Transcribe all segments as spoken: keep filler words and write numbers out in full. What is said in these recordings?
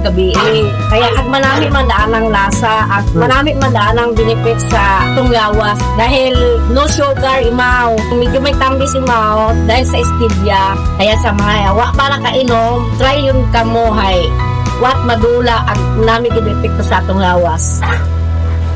gabi. Kaya ag manami man daan ang lasa, ag manami man daan ang benefits sa atong lawas. Dahil no sugar, imaw. Medyo may tambis imaw dahil sa stevia. Kaya sa mga wa pa nakainom, try yun kamo hay. Wat madula ang nami gid epekto sa atong lawas.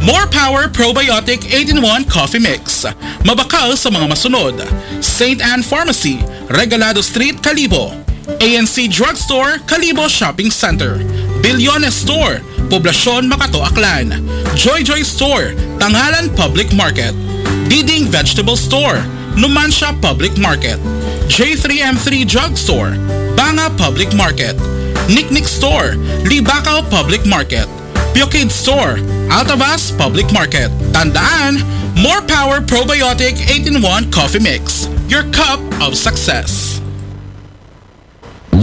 More Power Probiotic eight-in-one Coffee Mix. Mabakal sa mga masunod. Saint Anne Pharmacy, Regalado Street, Kalibo. A N C Drugstore, Kalibo Shopping Center. Bilyones Store, Poblacion, Makato, Aklan. Joy Joy Store, Tangalan Public Market. Diding Vegetable Store, Numancia Public Market. J three M three Drugstore, Banga Public Market. Niknik Store, Libacao Public Market. Pure Kid Store, Altavas Public Market. Tandaan, More Power Probiotic eight-in-one Coffee Mix. Your cup of success.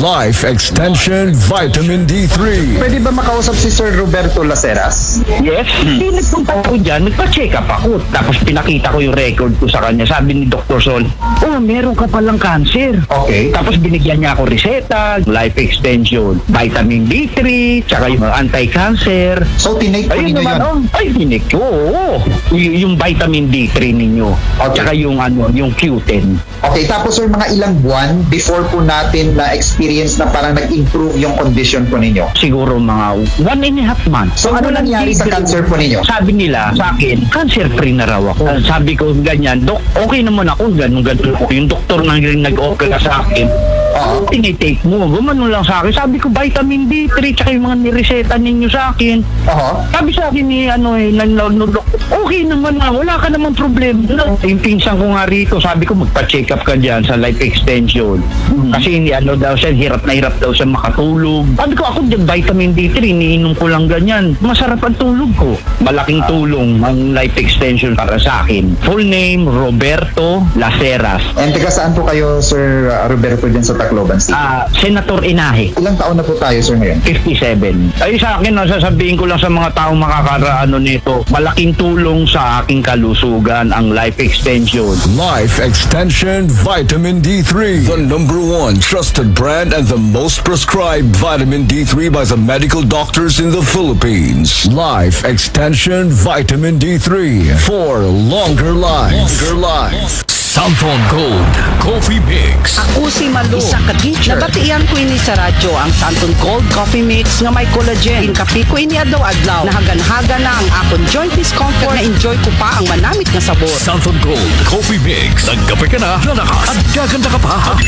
Life Extension Vitamin D three. Pwede ba makausap si Sir Roberto Laceras? Yes. Hindi, nagpunta ako dyan, nagpa-check up ako. Tapos pinakita ko yung record ko sa kanya. Sabi ni Doktor Sol, "Oh, meron ka palang cancer." Okay. Tapos binigyan niya ako reseta, life extension, vitamin D three, tsaka yung anti-cancer. So, tinake po Ayun ninyo naman, yun? Oh, ay, tinik ko, oo. Y- yung vitamin D three ninyo, Okay. Tsaka yung, ano, yung Q ten. Okay, tapos sir, mga ilang buwan before po natin na-experience na parang nag-improve yung condition po ninyo? Siguro mga one and a half months. So, ano Walang nangyari sa tigil. Cancer po ninyo? Sabi nila sa akin, cancer free na raw ako. Ah, sabi ko, ganyan, "Dok, okay naman ako, ganun, ganun ako." Yung doktor na rin nag-opera sa akin, "Ano tinitake mo?" Gumano lang sa akin. Sabi ko, "Vitamin D three, tsaka yung mga nireseta ninyo sa akin." Aha. Sabi sa akin ni, ano, eh, nag-, nag-, nag-, "Okay naman na, wala ka naman problema." Yung pinsan ko nga rito, sabi ko, "Magpa-check up ka dyan sa life extension." Kasi hindi, ano daw siya, hirap na hirap daw siya makatulog. Sabi ko, "Ako dyan, vitamin D three, iniinom ko lang ganyan. Masarap ang tulog ko." Malaking tulong ang life extension para sa akin. Full name, Roberto Laceras. And taga saan po kayo, Sir uh, Roberto, dyan sa Tacloban City? Ah, Senator Inahe. Ilang taon na po tayo, sir, ngayon? Fifty-seven. Ay, sa akin, no, sasabihin ko lang sa mga taong makakaraano nito, malaking tulong sa aking kalusugan ang life extension. Life Extension Vitamin D three. The number one trusted brand and the most prescribed vitamin D three by the medical doctors in the Philippines. Life Extension Vitamin D three for longer life. Longer life. Santhon Gold Coffee Mix. Ako si Malu, isa ka teacher. Nabatian ko ini sa radyo, ang Santon Gold Coffee Mix nga may collagen. Inkape ko ini adlaw-adlaw. Nahagan-hagan na ang akon joint discomfort. Na-enjoy ko pa ang manamit nga sabor. Santhon Gold Coffee Mix. Nagkape ka na, lalakas at gaganda ka pa.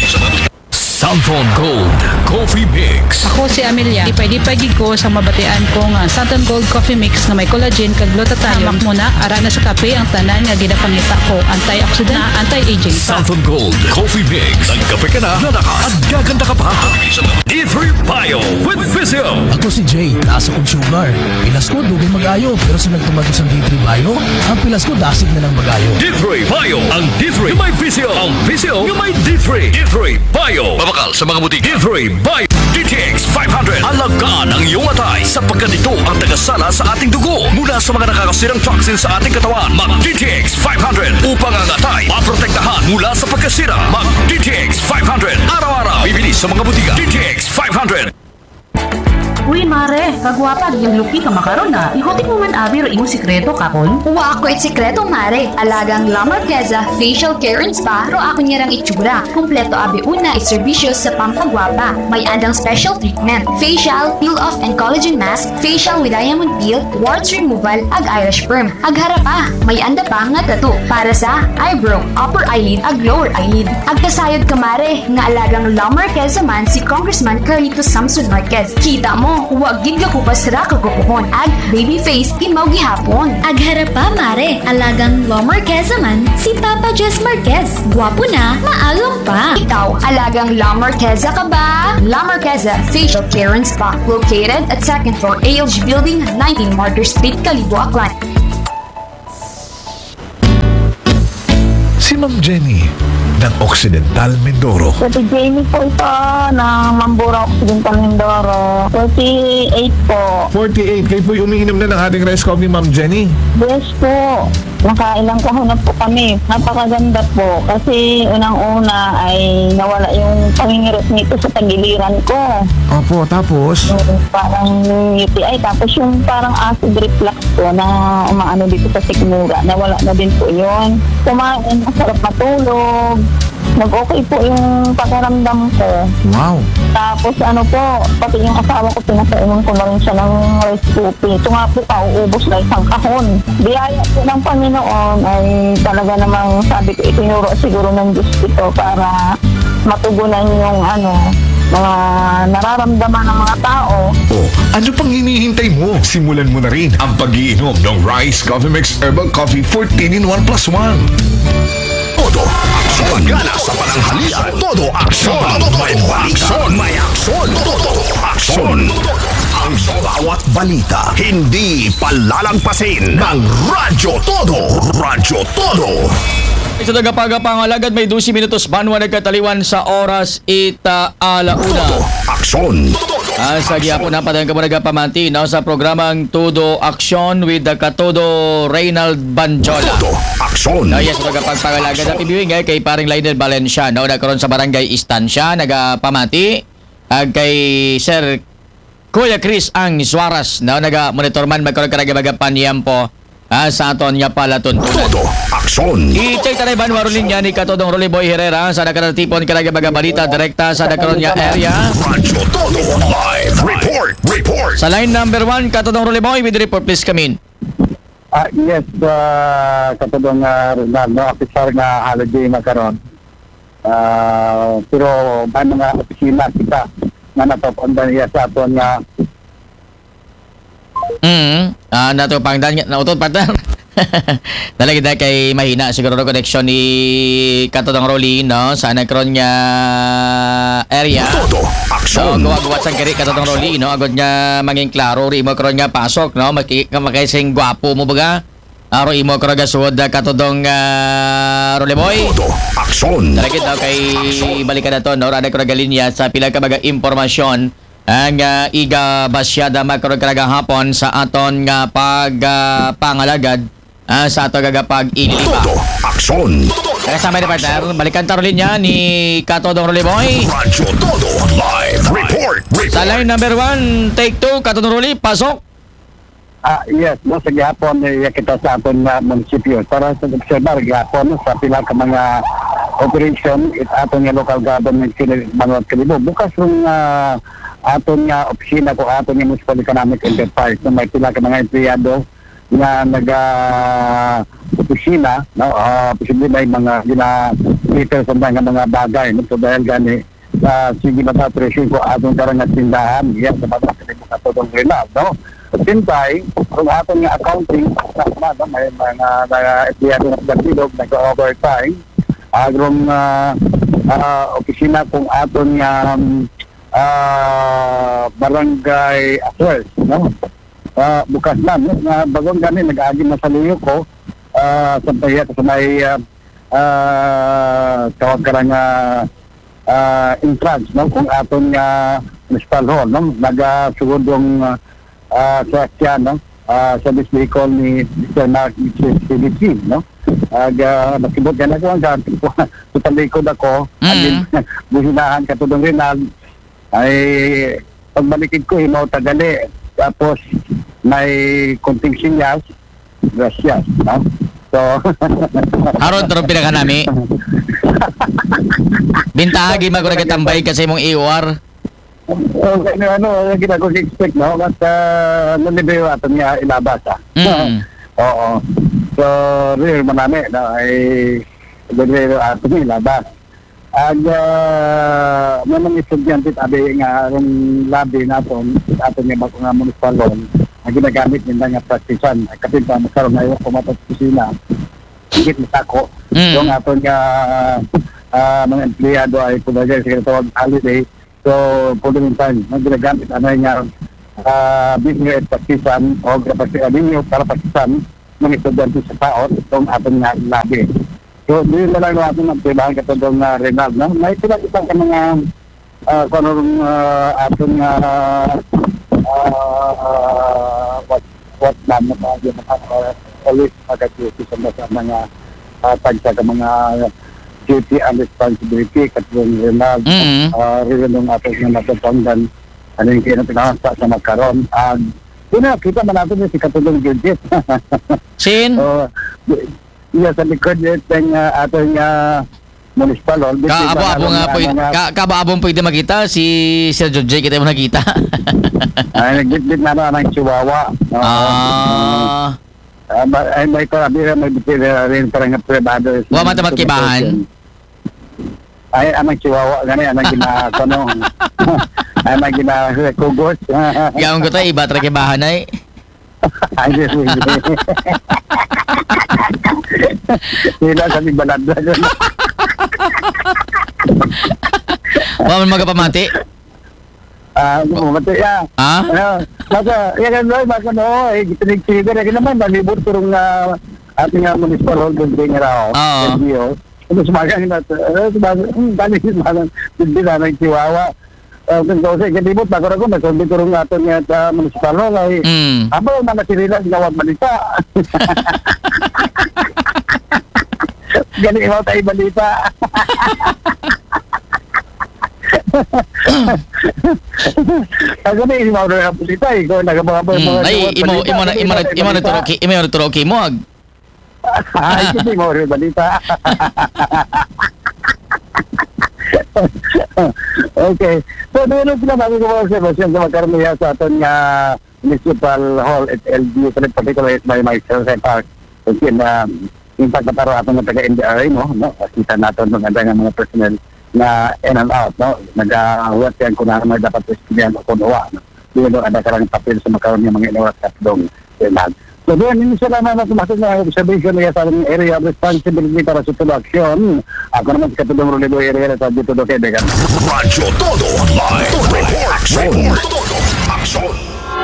Santhon Gold Coffee Mix. Ako si Amelia. Lipay-lipay gid ko sa mabatian ko nga Santon Gold Coffee Mix nga may collagen kag glutathione. Hamak mo na, ara na sa kape ang tanan nga ginapangita ko. Antioxidant, anti-aging pa. Santhon Gold Coffee Mix. Nagkape ka na, lalakas at gaganda ka pa. D three Bio with Visio. Ako si Jay, taas akong sugar. Pilas ko, dugay mag-ayo, pero sa nagtumagot sa D three Bio, ang pilas ko dasig na lang mag-ayo. D three Bio. Ang D three may Visio. Ang Visio may D three. D three Bio. Mabakal sa mga butika. D three Bio. D T X five hundred. Alagaan ang iyong atay sapagkat ito ang tagasala sa ating dugo mula sa mga nakakasirang toxin sa ating katawan. Mag D T X five hundred upang ang atay maprotektahan mula sa pagkasira. Mag D T X five hundred. Araw-araw. Bibili sa mga butika. D T X five hundred. Uy, mare, kagwapa, yung lupi ka makaron na. Ihutik mo man abi ro imong sikreto, kakon? Wa ako it sikreto, mare. Alagang La Marqueza Facial Care and Spa ro ako niyarang itsura. Kumpleto abi una it serbisyo sa pampagwapa. May andang special treatment, facial, peel-off and collagen mask, facial with diamond peel, warts removal, ag eyelash perm. Ag hara pa, may anda pa nga tattoo para sa eyebrow, upper eyelid, ag lower eyelid. Ag kasayod ka, mare, nga alagang La Marqueza man si Congressman Carlito Samson Marquez. Kita mo, wa gid gakubas ra kagwapohon. Ag baby face, imaw gihapon. Ag hara pa, mare, alagang La Marqueza man si Papa Jess Marquez. Gwapo na, maalam pa. Ikaw, alagang La Marqueza ka ba? La Marqueza Facial Care and Spa, located at second floor A L G Building, nineteen Martyr Street, Kalibo, Aklan. Si Ma'am Jenny, ng Occidental Mindoro. Sa Jenny po ito ng Mambura Occidental Mindoro. forty-eight po. forty-eight. Kayo po'y umiinom na ng ating rice coffee, Ma'am Jenny? Yes po. Nakailang kahon na po kami. Napakaganda po. Kasi unang-una ay nawala yung pangingirit nito sa tagiliran ko. Opo, tapos? Yung parang U T I. Tapos yung parang acid reflux po na umaano dito sa sikmura. Nawala na din po yun. Kumain, masarap matulog. Nag-okay po yung pakiramdam ko. Wow. Tapos ano po, pati yung asawa ko, pinapainom ko na rin siya ng rice coffee. Ito nga po, pauubos na isang kahon. Biyaya po ng Panginoon ay talaga namang sabi ko, itinuro siguro ng Diyos ito para matugunan yung ano, mga nararamdaman ng mga tao. O, ano pang hinihintay mo? Simulan mo na rin ang pag-iinom ng Rice Coffee Mix Herbal Coffee fourteen in one plus one. Todo aksyon. Pagana sa pananghalian. Todo aksyon. Todo aksyon. May aksyon. Todo aksyon. Ang bawat balita, hindi palalangpasin ng Radyo Todo. Radyo Todo. Sa tagapaga pangalagad, may dose minutos banwa nagkataliwan sa oras ita alauna. Todo aksyon. Ah, sa gihapon na padayon kamo nagapamati, no, sa programang Todo Aksyon with the Katodo Reynald Banjola. Todo aksyon. No, yes, magapagpangalagad at ibiwing eh, kay paring Lionel Valencia, no, na karon sa Barangay Estancia, nagapamati. Ag kay Sir Kuya Chris ang Suarez, no, naga-monitor man magkaroon ka nagabagapanyampo, ah, sa aton nga palatuntunan. Todo aksyon. I-check tayo ba, Marulin niya ni Katodong Rolly Boy Herrera sa nakaratipon ka nagabaga balita direkta sa nakaroon niya area. Radyo Todo live. Report. Report. Sa line number one, Katodong Rolly Boy, with the report, please come in. Ah, yes, uh, Katodong uh, Ronaldo, officer nga holiday makaron. Ah, pero may mga opisina kita nga napapandan niya sa aton nga Mm. Ah, nato pangdan, nautot, partner. Talaga dahil kay mahina siguro ang connection ni Katodong Rolly, no? Sa nagkaroon nga area. Todo So, aksyon. guwa-guwat sang kiri Katodong Rolly, no? Agod nga mangin klaro, ri mo karon nga pasok, no? Maki-, makaising gwapo mo baga? Aro imo karon nga suod, ah, Katodong, ah, Rolly Boy? Todo aksyon. Talagid, no? Kay balikan nato, no? Rada ko nagalinya sa pila ka mga impormasyon ang, ah, iga basyada makaroon ka nagahapon sa aton nga pag, ah, pangalagad, ah, sa ato gagapag ililiba. Todo aksyon. Kaya sa may partner, balikan taro linya ni Katodong Rolly Boy. Radyo Todo live. Report. Report. Sa line number one, take two, Katodong Rolly, pasok. Ah, yes, no, sa gihapon, eh, kita sa aton nga munisipyo. Para sa obserbar, gihapon, no, sa pila ka mga operation, it aton nga local government, sila Manuel Kalibo. Bukas yung ah, aton nga opisina ko, aton nga municipal economic enterprise, no, may pila ka mga empleyado nga naga opisina, no, ah, posible may mga gina-cater sa mga, mga bagay, no, so dahil gani, ah, sige mata operation ko aton karang nga tindahan, yan, sa mga Katodong Ronald, no? Sintay, kung aton nga accounting, tama, no? May mga na, empleyado na sa bilog, nag-overtime. Agron nga ah, opisina kung aton nga um, ah, barangay affairs, no? Ah, bukas na, no? Nga bagong gani, nag-agi na sa liyo ko, ah, sa pahiya sa may ah, ah, tawag ka lang ah, ah, entrance, no? Kung aton nga municipal hall, no? Nagasugod yung ah, ah, sasakyan, no? Ah, sa vehicle ni Mister Mark, Mister Philip, no? Ag ah, nakibot ka na ko ang dati ko sa talikod ako, Mm. agin buhinahan ka tudong rinag, ay pagbalikid ko, himaw tagali. Tapos may kunting sinyas, gracias, no? So, Haron tarong pila ka nami. Bintaha, gima ko nagkatambay kasi mong E O R. Oh, ano, ano, ang ginagawa ko expect, no? At uh, nalibre yung ato niya ilabas, ah. Mm. Oo. So, real manami, no? Ay, nalibre yung ato niya ilabas. Ag uh, may mga estudyante tabi nga arong labi naton, ato niya bako nga municipal hall, ang ginagamit nila nga praktisan. Ay, kapit pa, magkaroon na yung kumatas kusina. Higit masako. Mm. Yung ato nga ah, mga empleyado ay pulagay sa tawag holiday. So, pwede rin tayo, ang ginagamit, ano nga, ah, business praktisan o kapasikan ninyo para praktisan ng estudyante sa taon itong ating nga labi. So, di na lang natin ang pribahan katulad ng uh, Renal, no? May pila kita ka mga uh, kung anong uh, ating uh, uh, what what na mo pa yung mga uh, always mag-duty sa mga sa mga uh, tagsa ka mga duty and responsibility katulad ng Renal, Mm. uh, rin ng ating mga natutunggan ano yung kinatinasa sa makaron. Ag yun na, kita man natin yung si Katulong Judith. Sin? Oh, iya sa likod yung uh, ating uh, municipal hall. Kaabo-abo nga pwede, ka, kaabo-abo pwede makita si Sir Jojay kita mo nakita. Ay, nagbitbit na na ng chihuahua. Oo. Ah, Ah, ba- ay, may karabi may bitbit na rin parang privado. Wa man tamat kibahan? Ay, anang chihuahua gani, anang gina ano. Anang gina kugos. Gawon ko tayo, iba talaga bahan ay. Ay, sige. Sila sa bigbalad. Wa man magapamati. Ah, mamati ya. Ha? Ano, basta, ya kan Roy, basta no, eh, gitinig-tinig na rin naman, nalibot turong uh, ating uh, municipal hall building raw. Oo. L G U. Tapos magang na, eh, magang, hmm, dali, magang, hindi na ng chihuahua. Uh, kung kasi, kalibot, bako na ko, may kundi turong ating uh, municipal hall, ay, Mm. Abo, mga sirila, ginawa balita. Gani mo tayo balita. Ako na yung mga balita, ikaw nagababa Mm. mga Ay, imo, imo na, imo na, imo na turoki, imo na turoki mo. Ag. Ay, hindi mo rin balita. Okay. So, doon ang sinasabi ko mga observation sa magkaramihan sa aton nga Municipal Hall at L G U, particular at may may sa Park. Kasi na yung pagpataro ato ng taga-N D R A mo, no? Kita nato ng ada nga mga personnel na in and out, no? Nag-awat yan kung ano may dapat istoryahan o kung uwa, no? Di ba ada karang papel sa makaroon ng mga inuwat at dong. So, doon, hindi sila na natumasok na observation niya sa area of responsibility para sa tulong aksyon. Ako naman si Katulong Rulido Area sa Dito Do Quebec. Radyo Todo Live. Todo Aksyon. Todo Aksyon.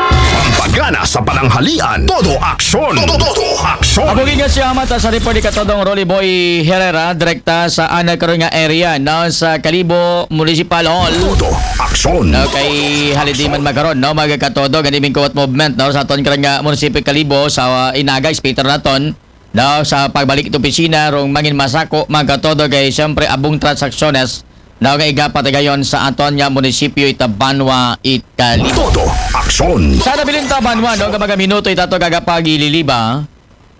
Pampagana sa pananghalian. Todo Aksyon. Todo Aksyon. Abugin nga siya mata sa report ni Katodong Rolly Boy Herrera, direkta sa ana karon nga area, no, sa Kalibo Municipal Hall. Todo Aksyon. No, kay halidiman makaron, no, mga Katodo, gani ming kuwat movement, no, sa aton karon nga munisipyo Kalibo, sa uh, Inaga, Speaker naton, no, sa pagbalik ito opisina, rong mangin masako, mga Katodo, kay siyempre abong transaksyones, no, nga igapatigayon sa aton nga munisipyo ita Banwa it Kalibo. Todo Aksyon. Sa nabilin ta Banwa, no, nga mga minuto itato kagapagililiba,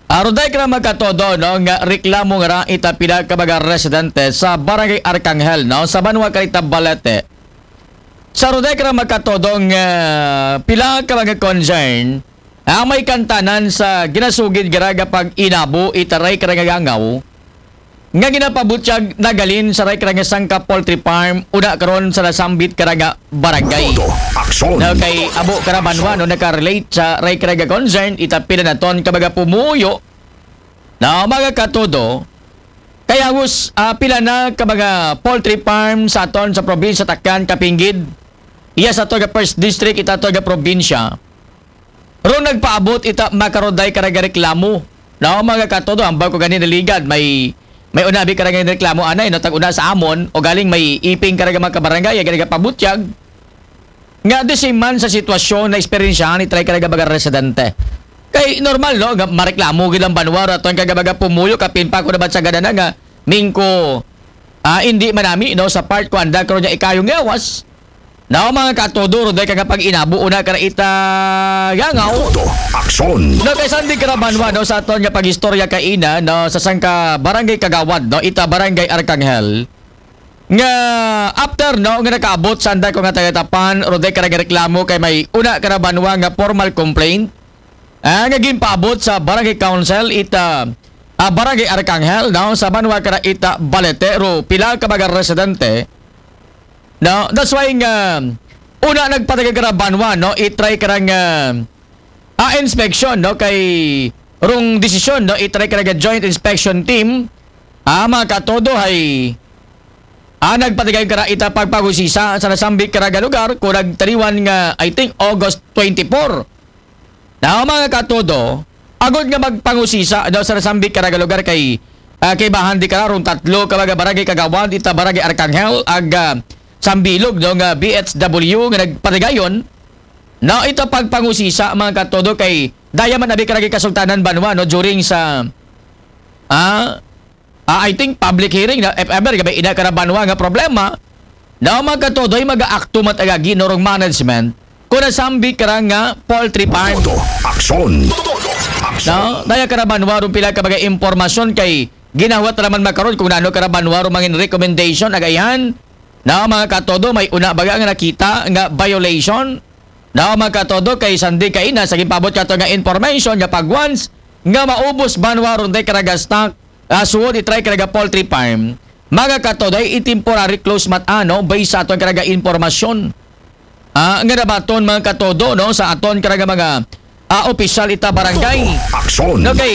Aruday ka na magkatodo, no, nga reklamo nga ra ita pila ka mga residente sa Barangay Arcangel, no, sa Banwa Karita Balete. Sa aruday ka na magkatodo nga pila ka mga concern, ang may kantanan sa ginasugid garaga pag inabo itaray ka nga gangaw, nga ginapabutyag nagalin sa ray ka nga sangka poultry farm, una karon sa nasambit ka nga barangay. Todo Aksyon. Now, kay abo ka na banwa, no, nakarelate sa ray ka nga concern, ita pila na ton ka mga pumuyo na mga katodo, kay hagos ah, pila na ka mga poultry farm sa aton sa probinsya Takyan, Kapingid, iya sa ato nga first district, ita ato nga probinsya. Ron nagpaabot ita makaroday ka nga reklamo. No, mga katodo, ambal ko gani naligad, may may unabi ka nga reklamo anay, no, tag una sa amon, o galing may iping ka nga mga kabarangay, gani pabutyag. Nga di si man sa sitwasyon na eksperyensyahan ni try ka nga mga residente. Kay normal, no, nga mareklamo gid ang banwa, raton ka nga mga pumuyo, kapin pa ko naman sa ganana nga, mingko, ah, hindi manami, no, sa part ko anda karon nga ikayong gawas. No, mga katodo, ron ka nga pag inabo, una ka na ita gangaw. Todo Aksyon. No, kay Sandy Karabanwa, no, sa aton nga pag-istorya kaina, no, sa sangka barangay Kagawad, no, ita barangay Arcangel. Nga after, no, nga nakaabot sa anda ko nga taga-tapan, ron ka nga reklamo kay may una Karabanwa nga formal complaint. Ah, nga ginpaabot sa barangay council, ita ah, barangay Arcangel, no, sa Banwa ka na ita Balete, ro pila ka mga residente. No, that's why nga una nagpatagay ka na banwa, no, itry ka nga ah, inspection, no, kay rong desisyon, no, itry ka nga joint inspection team, ah, mga katodo, hay ah, nagpatagay ka na ita pagpagusisa sa nasambit ka nga lugar, kung nagtaliwan nga, I think, August twenty-four. Na mga katodo, agod nga magpangusisa daw sa nasambit ka nga lugar kay Ah, kaibahan di kara run tatlo ka mga barangay kagawad ita Barangay Arcangel ag, ah, Sambilog, no, nga B H W nga nagpatigayon, no, ita pagpangusisa, mga katodo, kay daya man abi kara kasultanan banwa, no, during sa, ah, ah, I think public hearing, na if ever nga may ina kara banwa nga problema, no, mga katodo, ay mag-aakto man ag agi, no, rong management kung nasambi kara nga poultry farm. Todo aksyon. Todo aksyon. No, daya kara banwa rong pila ka mga impormasyon kay ginahuwat naman makaron kung nano kara banwa rong mangin recommendation ag ayhan. No, mga katodo, may una baga nga nakita nga violation? No, mga katodo, kay sandi kaina sa ginpaabot kato nga information nga pag once nga maubos banwa run day kara ga stock, ah, suod itry kara ga poultry farm, mga katodo, ay i-temporary close mat ano, based sa aton kara ga impormasyon. Ah, nga nabaton, mga katodo, no, sa aton kara ga mga, ah, opisyal ita barangay. Aksyon. No, kay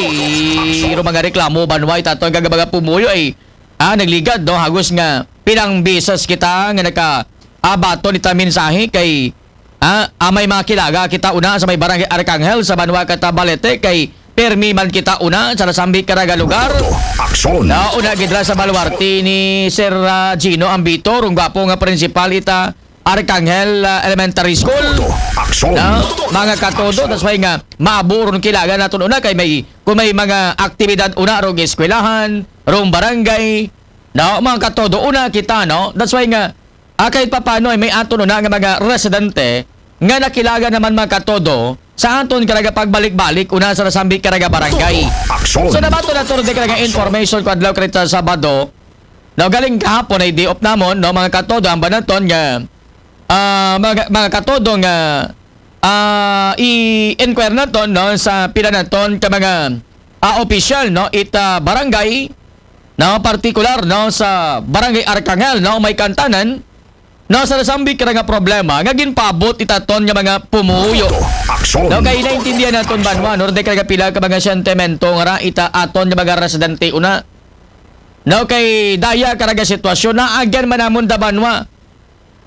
ro mga reklamo banwa ita aton kara ga mga pumuyo ay, ah, nagligad, no, hagos nga pilang beses kita nga naka, ah, baton ita mensahe kay, ah, ah, may mga kilaga kita una sa may Barangay Arcangel sa banwa kata Balete kay permi man kita una sa nasambi kara ga lugar. Aksyon. Na una gid ra sa baluarte ni Sir, ah, Gino Ambito, rong gwapo nga principal ita Arcangel, ah, Elementary School. Aksyon. Na, mga katodo, that's why nga maabo ron kilaga naton una kay may, kung may mga aktibidad una rong eskwelahan, rong barangay. No, mga katodo, una kita, no? That's why nga, ah, kahit papano ay may aton una nga mga residente nga nakilaga naman, mga katodo, sa aton kara ga pagbalik-balik una sa nasambi kara ga barangay. Aksyon. So nabaton naton di kara ga information ko adlaw karita Sabado. No, galing kahapon ay day off namon, no, mga katodo, ang banaton nga, ah, mga, mga katodo nga, ah, i-inquire naton, no, sa pila naton ka mga, ah, opisyal, no, ita barangay, no, partikular, no, sa Barangay Arcangel, no, may kantanan, no, sa nasambi kara nga problema nga ginpaabot ita aton nga mga pumuyo. Aksyon. No, kay naintindihan naton banwa, no, di kara ga pila ka mga sentimento nga ra ita aton nga mga residente una. No, kay daya kara ga sitwasyon na agyan man namon da banwa.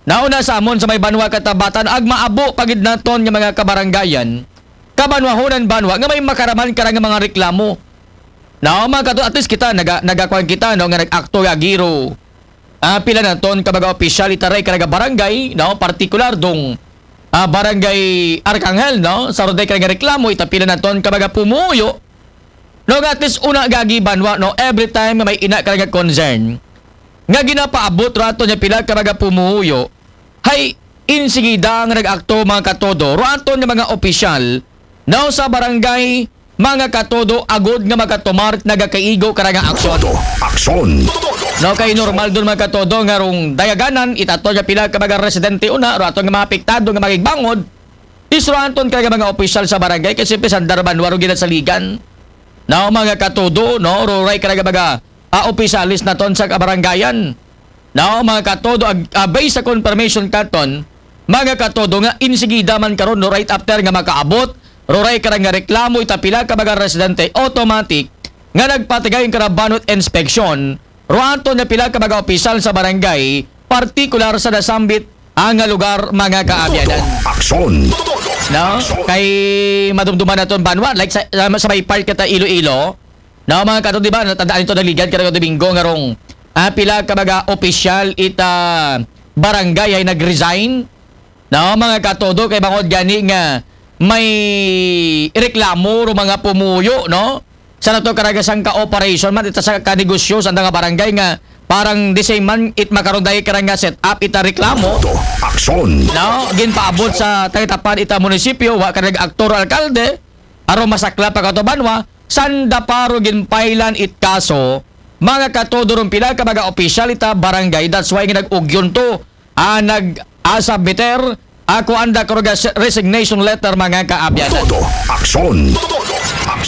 Nauna sa amon sa may banwa katabatan ag maabo pa gid naton nga mga kabarangayan, kabanwahonan banwa nga may makaraman kara nga mga reklamo. No, mga katodo, at least kita naga, nagakuan kita, no, nga nag-akto agi ro, ah, pila naton ka mga opisyal ita ray kara ga barangay, no, partikular dong, ah, Barangay Arcangel, no, sa ro day kara nga reklamo ita pila naton ka mga pumuyo. No, nga at least una gagi banwa, no, every time nga may ina kara nga concern nga ginapaabot ro aton nga pila ka mga pumuyo, hay insigida nga nag-akto, mga katodo, ro aton nga mga opisyal, no, sa barangay, mga katodo, agod nga makatumar nagakaigo kara nga aksyon. Todo aksyon. No, kay normal dun, mga katodo, nga rong dayaganan ita aton nga pila ka mga residente una, ro aton nga mga apektado nga magigbangod, is ro aton kara nga mga opisyal sa barangay kasi pisandar banwa ro ginasaligan. No, mga katodo, no, ro ray kara nga mga, ah, opisyalis naton sa kabarangayan. No, mga katodo, ag, ah, based sa confirmation katon, mga katodo, nga insigida man karon, no, right after nga makaabot ro ray kara nga reklamo ita pila ka mga residente, automatic nga nagpatigay ang kara banwa it inspeksyon ro aton nga pila ka mga opisyal sa barangay, partikular sa nasambit, ah, nga lugar, mga kaabyanan. Aksyon. No? Kay madumduman naton banwa, like sa, sa, sa may part kata Iloilo, no, mga katodo, di ba, natandaan nito, nagligad kara ga Domingo nga rong, ah, pila ka mga opisyal ita barangay ay nag-resign. No, mga katodo, kay bangod gani nga may reklamo ro mga pumuyo, no? Sa nato kara ga sangka operation man, ita sangka negosyo sa nga barangay nga parang the same man it makaron day kara nga set up ita reklamo. Todo aksyon. No, ginpaabot sa tangitapan ita munisipyo, wa kara nag-aktor alkalde, aron masakla pa kato banwa, sanda pa ro ginpailan it kaso, mga katodo, rong pila ka mga opisyal ita barangay, that's why nga nag-ugyon to, ah, nag-asabiter, ako anda ko ro ga resignation letter, mga kaabyanan. Todo aksyon.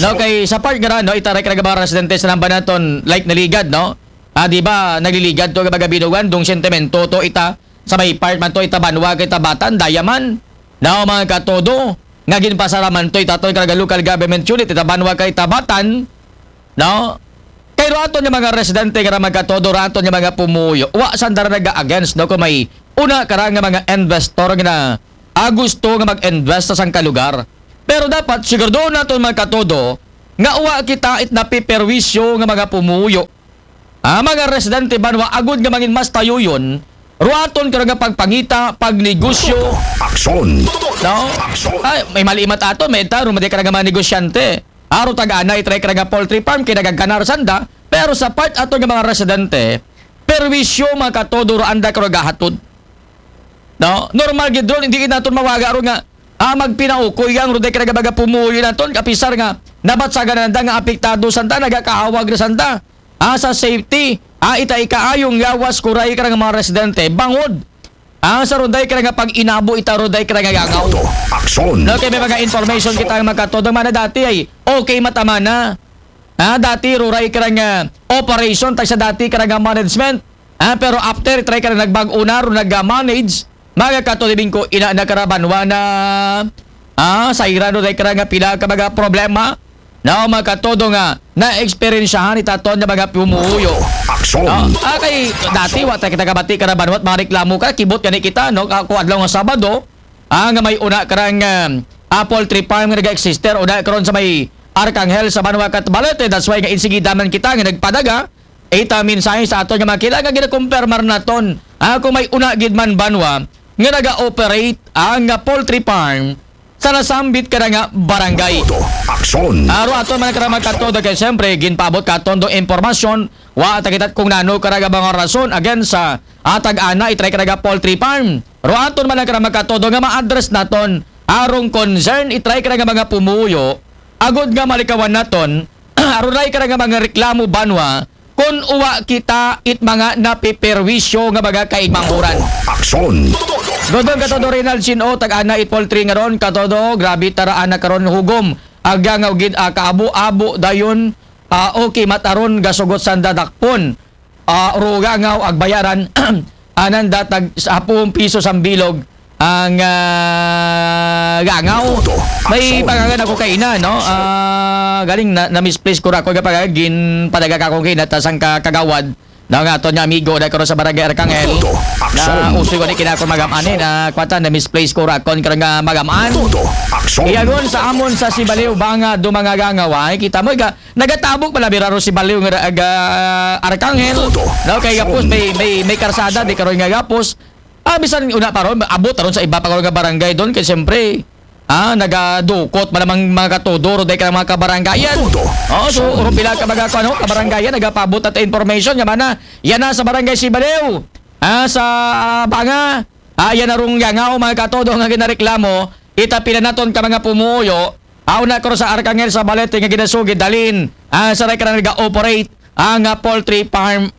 No, kay sa part nga ra, no, ita ray kara ga mga residente sa namba naton, like, naligad, no? Ah, di ba, nagliligad to, mga binugan, dong sentimento to, ita, sa may part man to, ita banwa, kay tabatan, daya man. No, mga katodo, nga ginpasara man to, ita aton kara ga local government unit, ita banwa, kay tabatan, no? Kay ro aton nga mga residente nga ra, mga katodo, ro aton nga mga pumuyo, wa sanda ra naga-against, no, kung may una kara nga mga investor nga na, ah, gusto nga mag-invest sa sangka lugar. Pero dapat siguraduhon naton, mga katodo, nga uwa kita it napiperwisyo nga mga pumuyo. Ah, mga residente banwa agud nga mangin mas tayuyon, ruaton karo nga pagpangita, pagnegosyo. Aksyon. No? Aksyon. Ay, may malimat ato, may ta, rumaday ka nga mga negosyante. Aro tag-ana, itry ka nga poultry farm, kay nagaganar sanda. Pero sa part ato nga mga residente, perwisyo mga katodo ro anda karo gahatod. No? Normal gid ron, hindi naton mawaga ro nga ah, magpinaukoy ang ruday ka nga mga pumuyo naton, kapisar nga nabatsagan na nanda nga apektado sanda, nagakahawag na sanda. Ah, sa safety, ah, ita ikaayong yawas kuray ka nga mga residente, bangod. Ah, sa ruday ka nga pag-inabo, ita ruday ka nga gangaw. Aksyon. No, kay may mga information kita nga magkatodo, mana dati ay okay matamana. Ah, dati ruray ka nga operation, tag sa dati ka nga management. Ah, pero after, try ka na nagbag-o na, ro nag-manage. Mga katulibing ko, ina na karabanwa na. Ah, sa irano, try ka nga pila ka mga problema. Na mga katodo nga, na-eksperyensyahan itaton nga mga pumuyo. Aksyon. Ah, ah, kay dati, wa tayo kita kabati karabanwa, at mga reklamo ka, kibot gani kita, no? Ako adlaw nga Sabado, ah, nga may una karang ah, ah, poultry farm nga nag-exister, una karon sa may Arcangel sa Banwa Catbalete. That's why nga insigidaman kita nga nagpadaga ita mensahe sa aton nga mga kila nga ginakumpirmar naton. Ah, kung may una gid man banwa nga naga-operate ang ah, poultry farm sa nasambit ka na nga barangay. Aksyon. Aro aton man kara magkatodo kay siyempre ginpaabot ka aton do impormasyon, wa ta kita kung nano kara nga mga rason again sa atag ana itry kara nga poultry farm. Ro aton man kara magkatodo nga ma-address naton arong concern itry kara nga mga pumuyo agud nga malikawan naton aruray kara nga mga reklamo banwa kun uwa kita it mga napiperwisyo nga mga kaigmanghuran. Aksyon. Dodong katodo Rinald Sino tag ana it poultry nga ron katodo grabe tara ana karon hugom. Aga nga ugid ah, kaabo-abo dayon ah, okay mataron gasugot sanda dakpon. Ah, ruga nga agbayaran anan datag sa apong piso sambilog ang ah, gangaw. May pangalan ako kaina, no? Ah, galing na, na-misplace ko ra ko nga pagagin padaga ka akong kaina ta sang ka- kagawad. Na nga aton nga amigo na karon sa barangay Arcangel. Na usoy ko ni kinakon magamanin na kwata na-misplace ko ra kon karon nga magamaan. Aksyon. Iyagon sa amon sa Sibaliw banga do mga gangaw ay kita mo ga nagatabog pala biraro si Baliw nga aga Arcangel. No kay gapos may may may karsada di karon nga gapos. Ah, bisan una pa ron, abot ron sa iba pa karon nga barangay doon kay siyempre ah, nagadukot man ang mga katudoro dahil ka ng mga kabarangayan. Oo, so, urong pila ka mga ano, kabarangayan, nagapabot at information, nga mana, yan na sa barangay Sibaliw. Ah, sa ah, Banga, ah, yan na rong yangaw, mga katodo nga ginareklamo, itapila naton ka mga pumuyo, ah, una ko sa Arcangel sa Balete nga ginasugid, dalin, ah, sa rekara nag-operate, ang ah, poultry farm